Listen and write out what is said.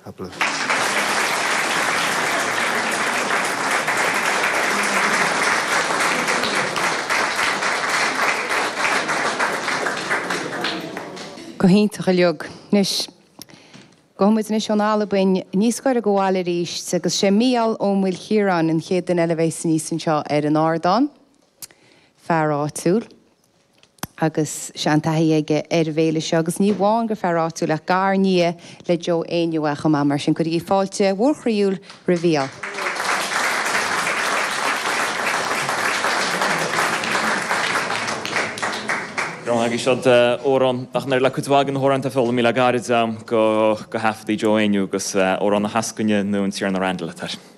Tapadh. Go hiontach uilig. Anois, gabhfaidh muid anois ón Albain níos gaire do bhaile arís agus sé Mícheál Ó Maoilchiaráin an chéad duine eile a bheas aníos anseo ar an ardán. Fear áitiúil. agus seantaithí aige ar an bhféile seo agus ní amháin gur fear áitiúil ach gar-nia le Joe Éinniú é chomh maith, mar sin cuirigí fáilte mhór chroíúil roimh Mhícheál. Roghnaigh siad amhrán nach n-oireann le cuid mhaith de na hamhráin atá foghlamtha le gairid agam go thaifeadtaí Joe Éinniú agus amhrán na heascaine nó an Tiarna Randall atá air.